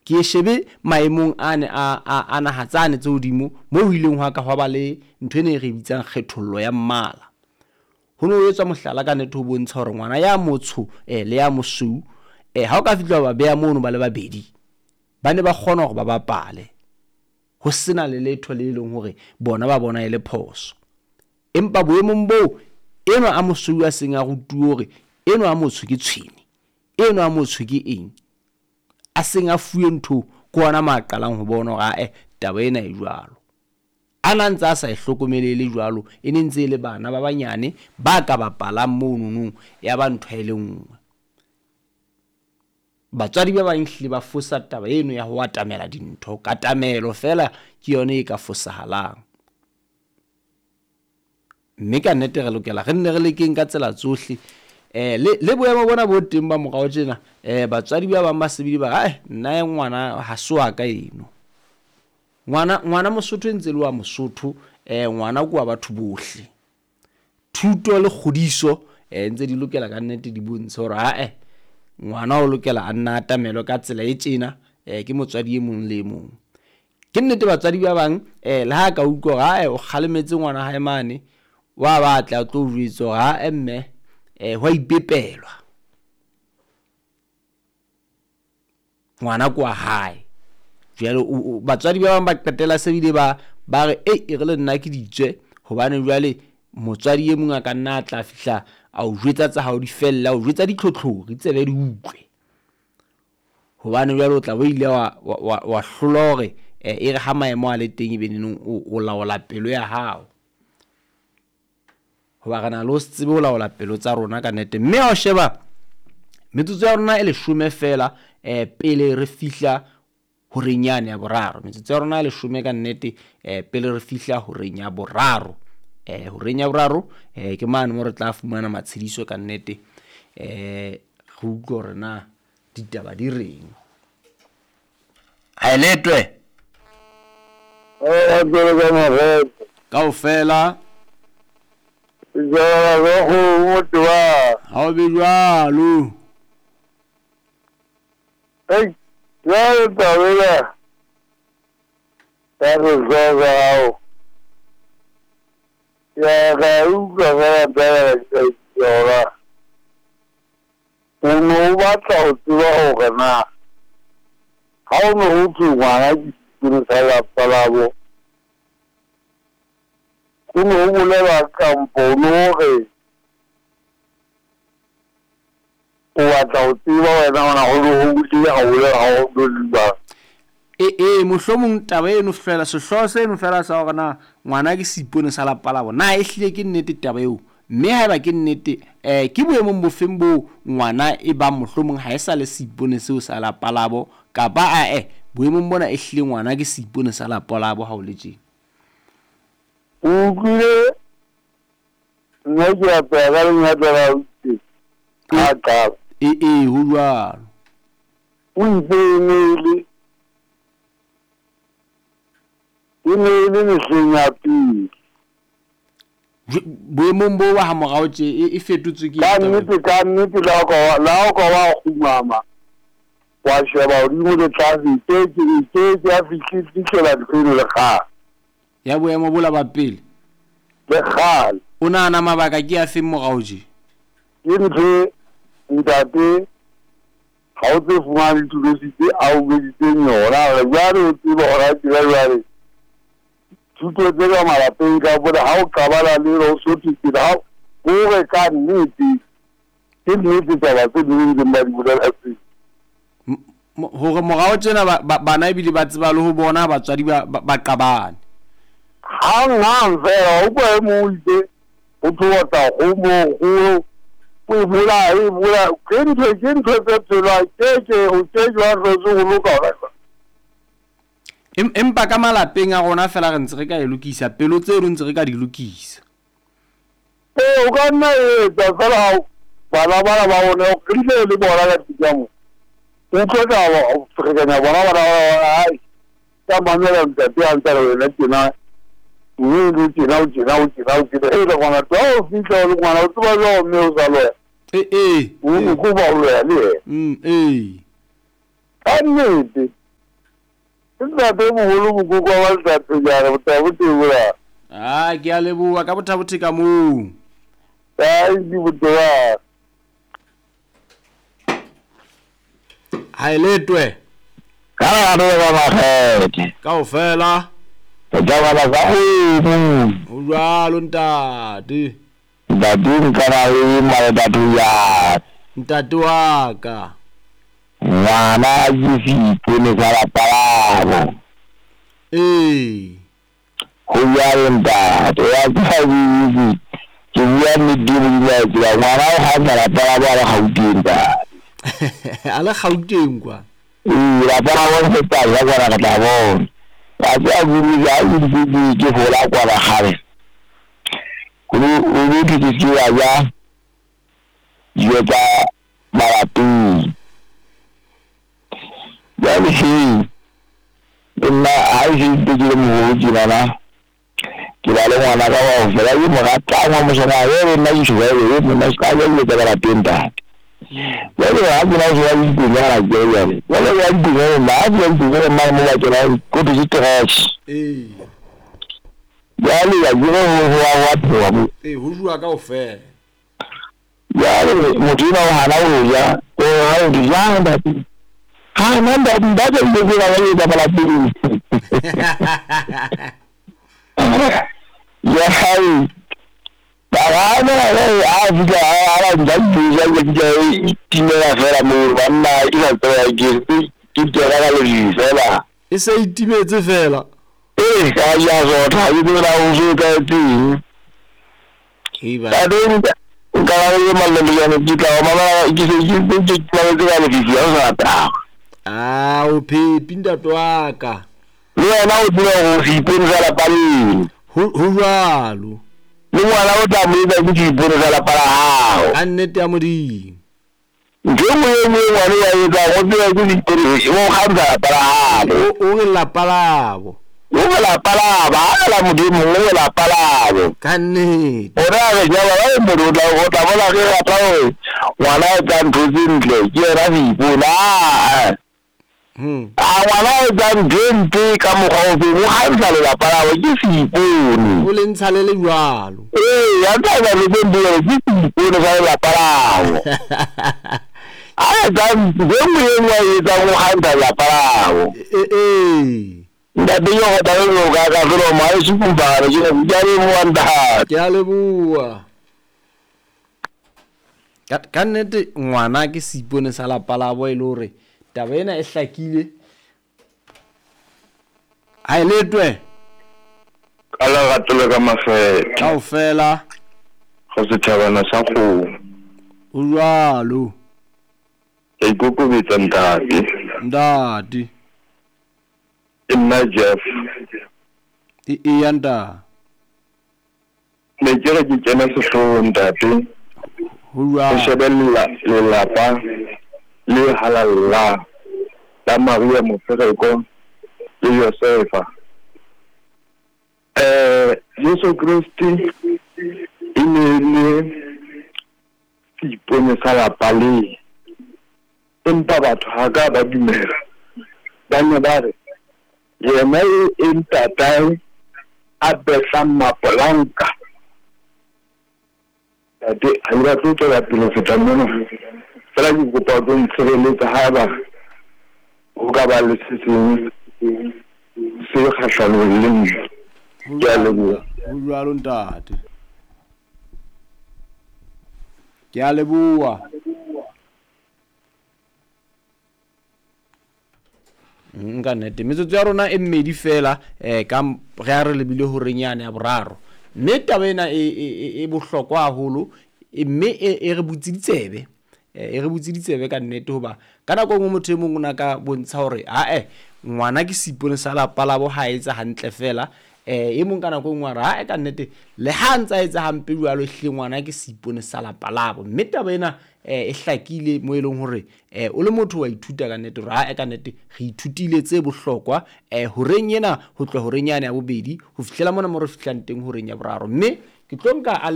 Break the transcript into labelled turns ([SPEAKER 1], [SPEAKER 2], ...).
[SPEAKER 1] Ke e shebe maemong ane a, a, a naha tsane tse hodimo moo ho ileng hwa ka hwa ba le ntho ena e re e bitsang kgethollo ya mmala. Ho ne ho etswa mohlala ka nnete ho bontsha hore ngwana ya motsho le ya mosweu ha o ka fihla wa ba beha mono ba le babedi, ba ne ba kgona hore ba bapale ho sena le letho le leng hore bona ba bona e le phoso. Empa boemong boo enwa a mosweu a seng a rutuwe hore enwa a motsho ke tshwene, enwa a motsho ke eng, a seng a fuwe ntho, ke hona mo a qalang ho bona hore ae taba ena e jwalo. A na ntse a sa e hlokomele e le jwalo, e ne ntse e le bana ba banyane ba ka bapalang mononong ya ba ntho e le nngwe. Batswadi ba bang ehlile ba fosa taba eno ya ho atamela dintho, katamelo feela ke yona e ka fosahalang. Mme ka nnete re lokela re nne re lekeng ka tsela tsohle. Le boemo bona bo teng ba morao tjena, batswadi ba bang ba se bile ba re, ae nna ngwana ha se wa ka eno. Ngwana, ngwana Mosotho e ntse le wa Mosotho, ngwana ke wa batho bohle. Thuto le kgodiso ntse di lokela ka nnete di bontshe hore ae ngwana o lokela a nna atamelwe ka tsela e tjena, ke motswadi e mong le e mong. Ke nnete batswadi ba bang le ha ka utlwa hore ae o kgalemetse ngwana hae mane, wa batla a tlo o jwetsa hore ae mme hwa ipepelwa. Ngwana ke wa hae. Jwale batswadi ba bang ba qetela se bile ba ba re ei e re le nna ke ditswe, hobane jwale motswadi e mong a ka nna a tla fihla a o jwetsa tsa hao di felle, a o jwetsa ditlhotlhori tsebe di utlwe. Hobane jwale o tla bo ile wa, wa, wa hlolwa hore e re ha maemo a le teng e be neneng o laola pelo ya hao. Hoba re na le ho se tsebe ho laola pelo tsa rona ka nnete. Mme ha o sheba metsotso ya rona e leshome feela pele re fihla horeng yane ya boraro. Metsotso ya rona e leshome ka nnete pele re fihla horeng ya boraro. Horeng ya boraro ke mane mo re tla fumana matshediso ka nnete. Re utlwe hore na ditaba di reng. Ha e letwe. Kaofela. Ha o be jwalo.
[SPEAKER 2] Ei, jwale taba ena ya sehlooho sa hao ya ka utlwa fela taba ka yona. O ne o batla ho tseba hore na ha o ne ho thwe ngwana ke seipone sa lapa labo, ho ne ho bolelwa kampo o ne o re o batla ho tseba wena hona ho ne ho le ha bolela ha o no le jwang.
[SPEAKER 1] E, mohlomong taba eno fela, sehlooho seno fela sa hore na ngwana ke seipone sa lapa labo, na ehlile ke nnete taba eo? Mme haeba ke nnete, ke boemong bofeng boo ngwana e bang mohlomong ha e sa le seipone seo sa lapa labo, kapa ae boemong bona ehlile ngwana ke seipone sa lapa labo ha o le tjena?
[SPEAKER 2] O utlwile nna ke apeha ka lenyatla la ausi ha qala.
[SPEAKER 1] E, ho jwalo.
[SPEAKER 2] O itse e ne e le, e ne e le mehleng ya pele.
[SPEAKER 1] Boemong bo ba ha morao tje e fetotswe ke
[SPEAKER 2] Ka nnete, ka nnete, le ha o ka wa kgumama wa sheba hodimo le tlase, e ke ke ya fihlela ntho eno le kgale.
[SPEAKER 1] Ya boemo bola ba pele.
[SPEAKER 2] Le kgale.
[SPEAKER 1] O nahana mabaka ke a feng morao tje?
[SPEAKER 2] Ke ntho ntate ha o tse fumane dithulusi tse a o beditseng yona, re jwale o tsebe hore a tseba jwale thuto tse ka malapeng ka bole ha o qabana le o sothetsele ha hore ka nnete ke nnete taba tse ding ntseng ba di bolela tse.
[SPEAKER 1] Hore morao tjena bana ebile ba tseba le ho bona batswadi ba qabane.
[SPEAKER 2] Hang hang fela o kwa e mong o itse ho thoba kgomo kgolo o e bolaya e bolaya ke ntho tse phelwang ke ke o ke jwang hlotse ho loka hona jwale.
[SPEAKER 1] Empa ka malapeng a rona fela re ntse re ka e lokisa, pelo tseno ntse re ka di lokisa.
[SPEAKER 2] Ee, o ka nna etsa fela ha bana bana ba rona re ile le bona ka tlung mo. O tlo tla ferekanya bona bana ba hai ka mamela ntate a ntse re wena tjena mme le tjena o tjena o tjena o tjena e le ngwana tlo o fihla o le ngwana o tseba jwang mme o sa loya.
[SPEAKER 1] E.
[SPEAKER 2] O ko ba o loya le yena.
[SPEAKER 1] E.
[SPEAKER 2] Ka nnete. Ke ntate moholo mokoko wa Letlapenyana Bothabothe mona.
[SPEAKER 1] Ah, ke a leboha ka Bothabothe ka moo.
[SPEAKER 2] Ai ke boteba.
[SPEAKER 1] Ha e letwe.
[SPEAKER 2] Ka gare ba makgethe.
[SPEAKER 1] Kaofela.
[SPEAKER 2] Re tla bala ka kgomo.
[SPEAKER 1] Ho jwalo ntate.
[SPEAKER 2] Ntate nka na le maletatho ya.
[SPEAKER 1] Ntate wa ka.
[SPEAKER 2] Ngwana ke seipone sa lapa labo.
[SPEAKER 1] Ee.
[SPEAKER 2] Ho jwalo ntate, wa tseba ke ke bua nnete e Modimo a e tsebang. Ngwana o kganna lapa labo a le Gauteng ntate.
[SPEAKER 1] A le Gauteng kwa.
[SPEAKER 2] Ee, lapa labo re tla ja kwana re tla bona. Wa tseba ke ha ke ntse ke hola kwana kgale. Ho no thwe ke se ka ja dijo tsa malapeng. Jwale he le nna ha e se ntse ke le moholo tjenana ke ba le ngwana ka bao fela ke mo ratang wa moshemane e le nna ke tjho e monna se ka ja dijo tsa ka lapeng ntate. Jwale ha ke na so ya dipenyana ke jwale jwale ya dipenyana nna ha ke ya dipenyana mane mo ba kenang ko thwe ke trash.
[SPEAKER 1] Ee.
[SPEAKER 2] Jwale ya ke re ho wa phewa mo.
[SPEAKER 1] Ee, ho jowa kaofela.
[SPEAKER 2] Jwale motho enwa o hana ho ja, o ha o di jang ntate. Ha nna ntate ntate dijo tsena ba etsa malapeng. Jwale ba gana a fihla a ba nka dijo jwale ke e timela fela moo banna ke sa tseba ke ke kena ka lefifi fela.
[SPEAKER 1] E se e timetse fela.
[SPEAKER 2] Ee, ka ja sotha ha ke tsebe na ho so etsahetseng.
[SPEAKER 1] Eba.
[SPEAKER 2] Ntate nka ba le malolojane ke tla o mamela ke se ke ke ke ka lefifi ha o sa taba.
[SPEAKER 1] Ah, o phepi ntate wa ka.
[SPEAKER 2] Le wena o tseba hore o seipone sa lapa leno.
[SPEAKER 1] Ho jwalo.
[SPEAKER 2] Le ngwana o tla mo etsa ke seipone sa lapa la hao.
[SPEAKER 1] Ka nnete ya Modimo.
[SPEAKER 2] Ntho e nngwe e nngwe ngwana o a etsang o tseba ke seipone o kgantsha lapa la habo.
[SPEAKER 1] O re lapa labo.
[SPEAKER 2] O re lapa labo, ha la Modimo o re lapa labo.
[SPEAKER 1] Ka nnete.
[SPEAKER 2] Ona re jaba ba motho o tla bona re rata hore ngwana a etsang ntho tse ntle ke yena seipone. A ngwana a etsang ntho e mpe ka mokgwa o feng o kgantsha lelapa labo ke seipone.
[SPEAKER 1] O le ntsha le le jwalo.
[SPEAKER 2] Ee, ya ntse a etsa ntho tse mpe ke seipone sa lelapa labo. A etsang ntho e nngwe e nngwe a etsang o kgantsha lelapa labo.
[SPEAKER 1] Ee.
[SPEAKER 2] Ntate ke go tla le ka ka felo mo a se kumpana ke ke a leboha ntate.
[SPEAKER 1] Ke a leboha. Ka nnete ngwana ke seipone sa lapa labo e le hore taba ena e hlakile. Ha e letwe.
[SPEAKER 2] Ka lerato le ka makgethe.
[SPEAKER 1] Kaofela.
[SPEAKER 2] Go setjhabana sa kgomo.
[SPEAKER 1] Ho jwalo.
[SPEAKER 2] Ke ikokobetsa ntate.
[SPEAKER 1] Ntate.
[SPEAKER 2] Ke nna Jeff.
[SPEAKER 1] Eya ntate.
[SPEAKER 2] Ne ke re ke kena sehloohong ntate.
[SPEAKER 1] Ho jwalo.
[SPEAKER 2] Ho shebella lelapa le halalla la Maria Mofereko le Josefa. Jesu Kriste e ne le seipone sa lapa le. Empa batho ha ka ba dumela. Ba ne ba re yena e ntatae a betlang mapolanka. Ntate ha ke batle ho tswela pele ho feta mona. Fela ke kopa o tlo ntshireletsa haeba ho ka ba le se seng se kgahlanong le nna. Ke a leboha.
[SPEAKER 1] Ho jwalo ntate. Ke a leboha. Nka nnete metsotso ya rona e mmedi fela ka re a re lebile horeng yane ya boraro. Mme taba ena e bohlokwa haholo mme e re butse ditsebe. E re butse ditsebe ka nnete hoba ka nako e nngwe motho e mong o na ka bontsha hore ae ngwana ke seipone sa lapa labo ha etsa hantle fela. E mong ka nako e nngwe a re ae ka nnete le ha ntsa etsa hampe jwalo ehlile ngwana ke seipone sa lapa labo. Mme taba ena e hlakile mo e leng hore o le motho wa ithuta ka nnete hore ae ka nnete re ithutile tse bohlokwa horeng ena ho tloha horeng yane ya bobedi ho fihlela mona mo re fihlang teng horeng ya boraro. Mme ke tlo nka a le